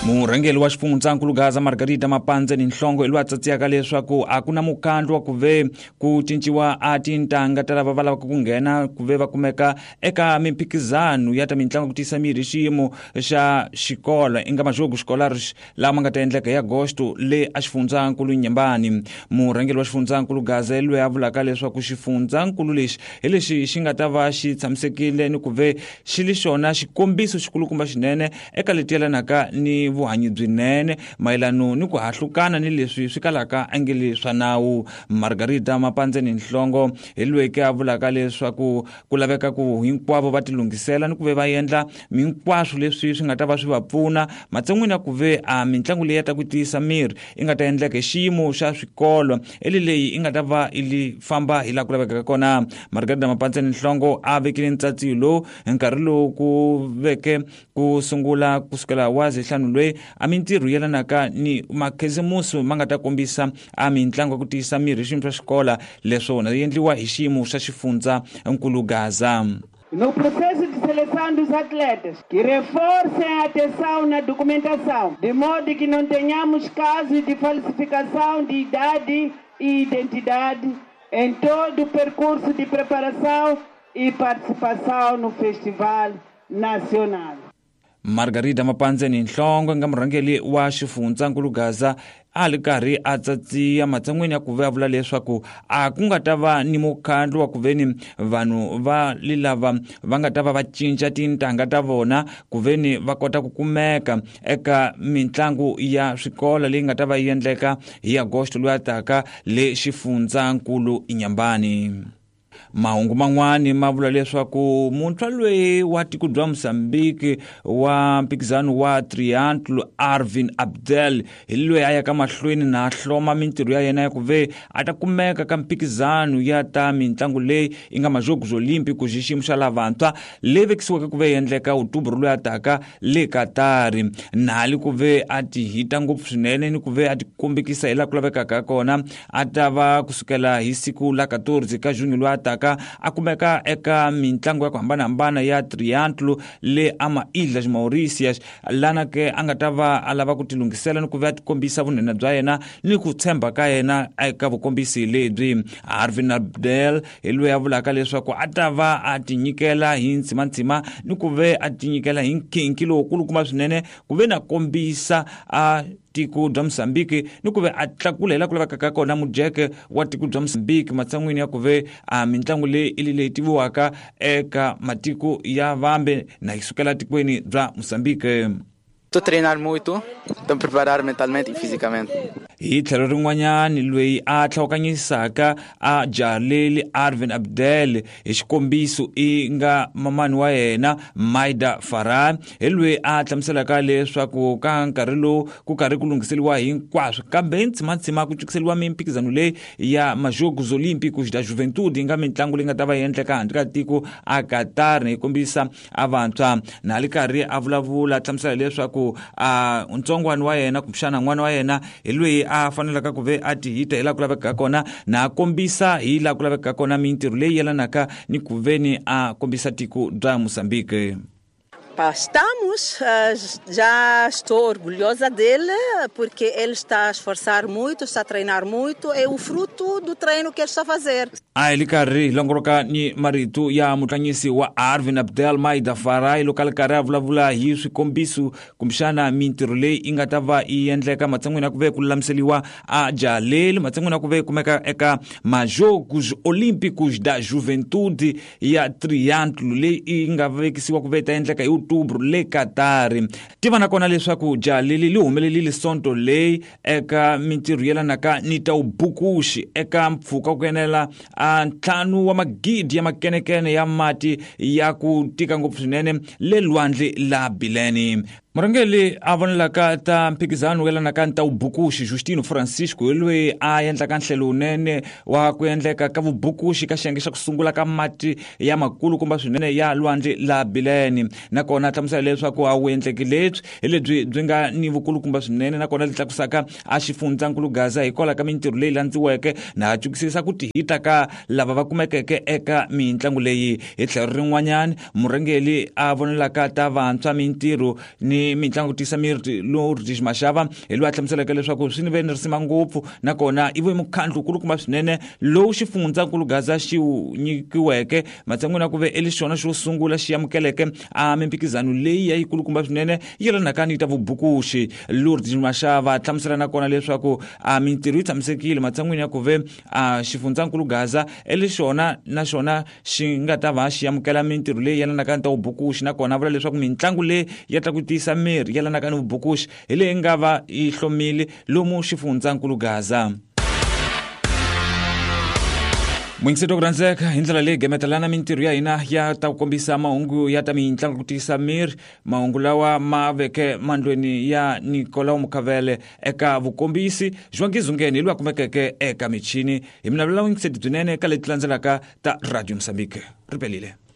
Murhangeri wa xifundzankulu Gaza Margarita Mapanze ni Nhlongo hi loyi a tsatsiyaka leswaku a ku na mukhandlu wa ku ve ku cinciwa a tintangha ta lava va lavaka ku nghena ku ve va kumeka eka mimphikizano ya ta mitlangu ku tiyisa mirhi xiyimo xa xikolo i nga majogo scholars lama nga ta endleka hi agosto le a xifundzankulu Nyembani. Murhangeri wa xifundzankulu Gaza loyi a vulaka leswaku xifundzankulu lexi hi lexi xi nga ta va xi tshamisekile ni ku ve xi li xona xikombiso xikulukumba xinene eka leti yelanaka ni vuhanyi byinene mayelano ni ku hahlukana ni leswi swi kalaka angeli swa nawu. Margarita Mapandzeni Nhlongo hi loyi ke a vulaka leswaku ku laveka ku hinkwavo va tilunghisela ni ku ve va endla hinkwaswo leswi swi nga ta va swi va pfuna matshan'wini ya ku ve a mitlangu leyi ya ta ku tiyisa miri i nga ta endleka hi xiyimo xa swikolo eli leyi i nga ta va i li famba hi laha ku lavekaka kona. Margarita Mapandzeni Nhlongo a vekile ntsatsiyo lowu hi nkarhi lowu ku veke ku sungula kusukela wa zehlanu loyi a mintirho yelanaka ni makhisimusi ma nga ta kombisa a mitlangu ya ku tiyisa mirhi xiyimo xa xikola leswona yi endliwa hi xiyimo xa xifundza nkulu Gaza. No processo de seleção dos atletas, que reforcem a atenção na documentação, de modo que não tenhamos casos de falsificação de idade e identidade em todo o percurso de preparação e participação no Festival Nacional. Margarita Mapandzeni Nhlongo nga murhangeri wa xifundzankulu Gaza a li karhi a tsatsiya matshan'wini ya ku ve a vula leswaku a ku nga ta va ni mukhandlu wa ku ve ni vanhu va li lava va nga ta va va cinca tintangha ta vona ku ve ni va kota ku kumeka eka mitlangu ya swikolo leyi nga ta va yi endleka hi Agosto loyi a taka le xifundzankulu Inyambani. Mahungu man'wani ma vula leswaku muntshwa loyi wa tiko bya Mozambique wa mphikizano wa triathlon Arvin Abdel hi loyi a yaka mahlweni na hloma mintirho ya yena ya ku ve a ta kumeka ka mphikizano ya ta mitlangu leyi yi nga Majogos Olímpicos hi xiyimo xa lavantshwa leyi vekisiweke ku ve endleka Outubro loyi a taka le Katari. Nali ku ve a ti hita ngopfu swinene ni ku ve a ti kombekisa hi laha ku lavekaka kona a ta va kusukela hi siku la 14 ka junho loyi a taka a kumeka eka mitlangu ya ku hambanahambana ya triathlon le ama Ilhas Mauritius lana ke a nga ta va a lava ku tilunghisela ni ku ve a tikombisa vunene bya yena ni ku tshemba ka yena eka vukombisi lebyi. Arvin Abdel hi loyi a vulaka leswaku a ta va a tinyikela hi ntsimantsima ni ku ve a tinyikela hi nkhinkhi lowukulukumba swinene ku ve na kombisa a tiko bya Mozambique ni ku ve a tlakula hi laha ku lavekaka kona mujeke wa tiko bya Mozambique matshan'wini ya ku ve a mitlangu leyi i leyi tiviwaka eka matiko ya vambe na yi sukela tikweni bya Mozambique. Estou a treinar muito, estou a preparar mentalmente e fisicamente. Hi tlhelo rin'wanyani loyi a tlhawukanyisaka a Jalili Arvin Abdel hi xikombiso i nga mamani wa yena Maida Farah hi loyi a hlamuselaka leswaku ka nkarhi lowu ku karhi ku lunghiseriwa hinkwaswo kambe ntsimantsima ku cukiseriwa mimphikizano leyi ya Majogos Olímpicos da Juventude yi nga mitlangu leyi nga ta va yi endleka handle ka tiko a Qatar yi kombisa a vantshwa na li karhi a vulavula a hlamusela leswaku a ntsongwana wa yena kumbexana n'wana wa yena hi loyi a fanelaka ku ve a ti hita hi laha ku lavekaka kona na a kombisa hi laha ku lavekaka kona mintirho leyi yelanaka ni ku ve ni a kombisa tiko bya Mozambique. Estamos, já estou orgulhosa dele, porque ele está a esforçar muito, está a treinar muito, é o fruto do treino que ele está a fazer. A hi li karhi hi longoloka ni marito ya mutlangisi wa Arvin Abdel Maida Farai loko a li karhi a vulavula hi swikombiso kumbexana mintirho leyi yi nga ta va yi endleka matshan'wini ya ku ve ku lulamiseriwa a Jaleli matshan'wini ya ku ve kumeka eka Majogos Olímpicos da Juventude ya triathlon leyi yi nga vekisiwa ku ve ta endleka hi Outubro le Qatar. Tiva na kona leswaku Jaleli li humelerile sonto leyi eka mintirho yelanaka ni ta vubukuxi eka mpfhuka ku enela a 5 wa magidi ya makenekene ya mati ya ku tika ngopfu swinene le lwandle la Bilene. Murhangeri a vonelaka ta mphikizano yelanaka ni ta vubukuxi Justino Francisco hi loyi a endlaka nhlelo wunene wa ku endleka ka vubukuxi ka xiyenge xa ku sungula ka mati ya makulukumba swinene ya lwandle la Bilene. Nakona Nakona a hlamusela leswaku a wu endleki lebyi hi lebyi byi nga ni vukulukumba swinene, nakona lebyi tlakusaka a xifundzankulu Gaza hikwalaho ka mintirho leyi landziweke na cukisisa ku tihita ka lava va kumekeke eka mitlangu leyi. Hi tlhelo rin'wanyana, murhangeri a vonelaka ta vantshwa mintirho ni mitlangu tisa miri Lourdes Mashava hi loyi a hlamuseleke leswaku swi ni ve ni risima ngopfu, nakona i ve mukhandlu kulukumba swinene lowu xifundzankulu Gaza xi wu nyikiweke matshan'wini ya ku ve eli xona xo sungula xi amukeleke a mimphikizano leyi ya yikulukumba swinene yelanaka ni ta vubukuxi. Lourdes Mashava hlamusela nakona leswaku a mintirho yi tshamisekile matshan'wini ya ku ve a xifundzankulu Gaza eli xona na xona xi nga ta va xi amukela mintirho leyi yelanaka ni ta vubukuxi, nakona vula leswaku mitlangu leyi ya ta ku tiyisa miri yelanaka ni vubukuxi hi leyi nga va yi hlomile lomu xifundzankulu Gaza. Muyingiseti wa ku rhandzeka, hi ndlela leyi gemetelana mintirho ya hina ya ta ku kombisa mahungu ya ta mitlangu ku tiyisa miri, mahungu lawa ma veke mandlweni ya Nicolau Mukhavele eka vukombisi João Zungeni hi loyi a kumekeke eka michini. Hi mi navelela vuyingiseti byinene ka leti landzelaka ta Radio Mozambique. Ri pelile.